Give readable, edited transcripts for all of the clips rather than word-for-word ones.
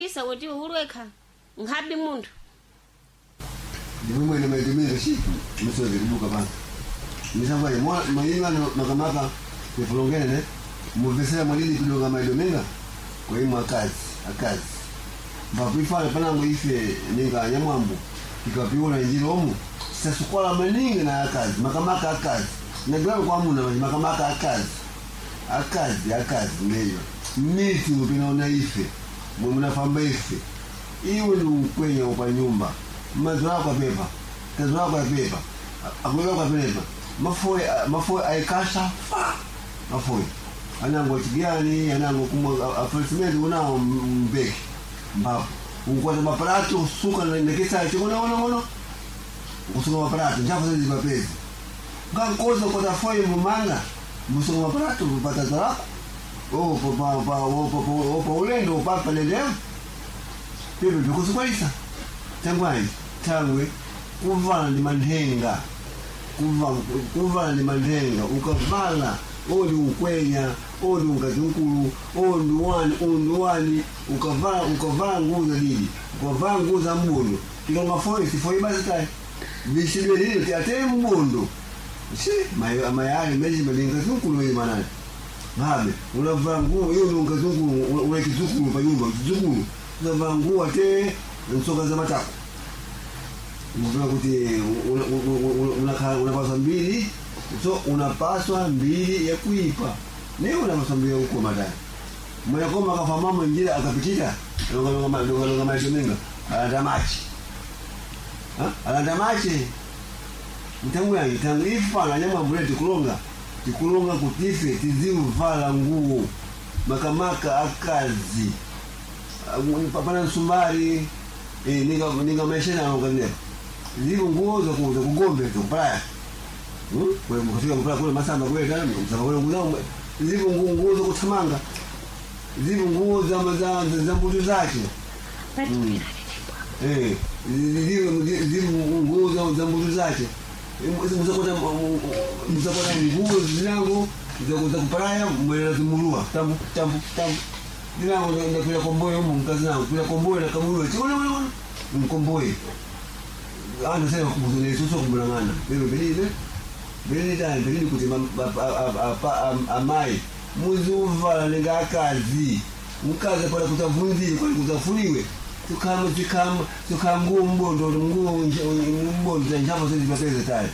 Isa kuti ulwekha nkhabi munthu. Ndimwe mwene maitumira shi misozi kubuka pano misangwaye mayimano makamaka ifulongene ne muvesera mwalili kudonga maidomenga kwa imwe akazi akazi mbakuifana panango ife ninga nyamwambo ikapiona njira omu sasukola maningi na akazi makamaka akazi nagilano kwamuna makamaka akazi akazi akazi ngeyo miti mupinaona ife mwe munafamba ife iwe ni ukwenya pa nyumba mazo ako apepa kazo ako apepa akuweka kwa pepa mafoye mafoye aikasha fa mafoye anango chigani anango kumwa afasimenti unao mbeki mbapo unkwata maparato usuka nekesa chikono ngono ngono ukusuka maparato njafu zezi mapezi ngankoza kwata foye mumanga musuka maparato kupata zalako opa ulendo upapa leleo pepe bikusukwalisa tangwani tangwe kuvala ndi manthenga kuvala ndi manthenga ukavala odi ukwenya odi unkazinkulu odi wani undi wani ukavala ukavala nguo za didi ukavala nguo za mbondo tikanga foi basi tayi vishidwe lili tiatee mbondo si mayali meji malinga zinkulu weyi manani ngabe unavala nguo iyo ni unkazukulu una kizukulu pa nyumba kizukulu unavala nguo ate nsoka za matako ukufika kuti unapaswa mbili so unapaswa mbili ya kuipa ne unapaswa mbili ya kukoma tani mwenakoma akafa mama njira akapitira longalonga maitomenga alanda machi alanda machi mtangu yangi tangu ifana nyamwambule tikulonga tikulonga kutife tiziuvala nguo makamaka akazi pana msumbari ninga maisha na ngalina zivo nguo za kuuza kugombe za kupalaya kufika kupalaya kule masamba kule tena msamba kule nguo zivo nguo nguo za kuthamanga zivo nguo za za za mbutu zake eh zivo zivo nguo za za mbutu zake muzakota muzakota nguo zinango za kupalaya mwela zimulua tambu tambu tambu zinango ndakwira komboyo umu mkazi nango kwira komboyo na kamulua chikona mwana mwana mkomboyo antu sema kubuzune suso kumbulangana bebe belile belile tani belile kuti amai muzuvala ninga akazi mkazi pala kutavunzile kwani kutafuliwe tukama tukama tukanguo mbondo nguo mbondo njavo sezi bakeze tani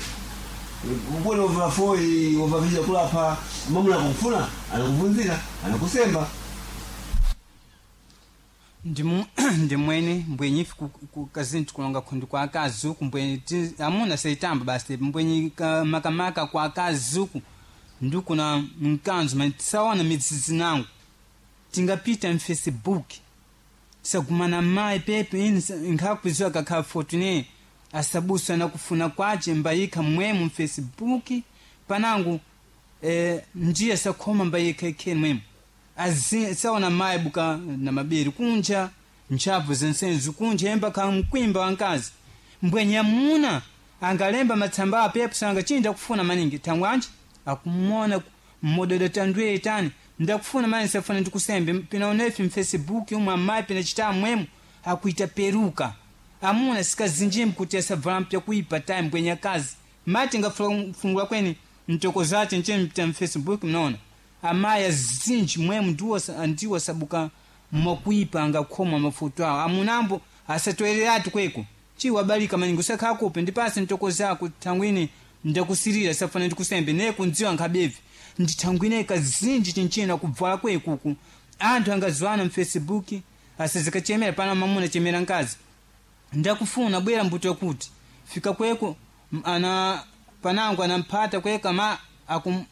mbona uvafoi uvavisha kulapa mamuna kufuna anakuvunzira anakusemba ndimwene mbwenyi ife kazini tikulonga khundi kwa akazi uku mbwenyi amuna seitamba basi mbwenyi makamaka kwa akazi uku ndikuna mkanzo mani tisaona midzidzi nangu tingapita mfacebook tisagumana mayi pepe ini nkhakuziwa kakhala fortune asabusa nakufuna kwace mbayikha mwemu mfacebook panangu njiya sakhoma mbayikha ikheni mwemu saona mayi buka na mabere kunja ntchafu zensenzi kunja emba kamkwimba wankazi mbwenye amuna angalemba matsamba apepo sanga chinja kufuna maningi thangwanji akumona mmododo tandwe tani ndakufuna mani safuna ndikusembe pinaonefi mfacebook umwe amayi pinachita mwemu akuita peruka amuna sikazinjimbi kuti asavala mpya kuipa time mbwenye akazi mati ngafungula kweni mtoko zace nche mfacebook mnaona amayi azinji mwemu ndiwo sabuka mwakuipa angakhoma mafoto awo amunambo asatoereratu kweko chiwabalika maningi usakhakupe ndipase ntoko zako thangwini ndakusirira safana ndikusembe neye kundziwa nkhabevi ndithangwine kazinji chinchina kubvala kwekuku anthu angaziwana mfacebook asizikachemera pana mamuna chemera nkazi ndakufuna bwera mbuto yakuti fika kweko ana panango anamphata kweka ma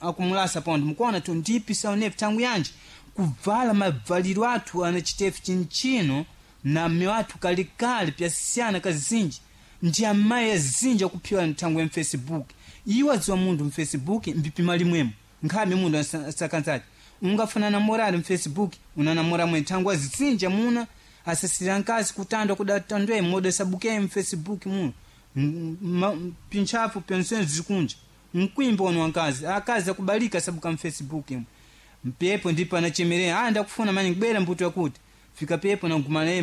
akumulasa pondo mukuona tu ndipi saunefu tangu yanji kuvala mavaliro athu anachitefu chinchino na mme wathu kalikali pyasiyana kazinji ndi amayi azinji akuphiwa nthangu ya mfacebook iwo adziwa munthu mfacebook mbipima limwemo nkhabe munthu asakanzati ungafuna namorali mfacebook unanamora mwe nthangu azinji amuna asasira nkazi kutandwa kudatandwe modo sabuke mfacebook muno pintchafu pensenzi zikunja mkwimba ono wankazi akazi akubalika sabuka mfacebook imwe mpepo ndipo anachemerera ah ndakufuna mani kubwera mbuto yakuti fika pepo nagumana naye.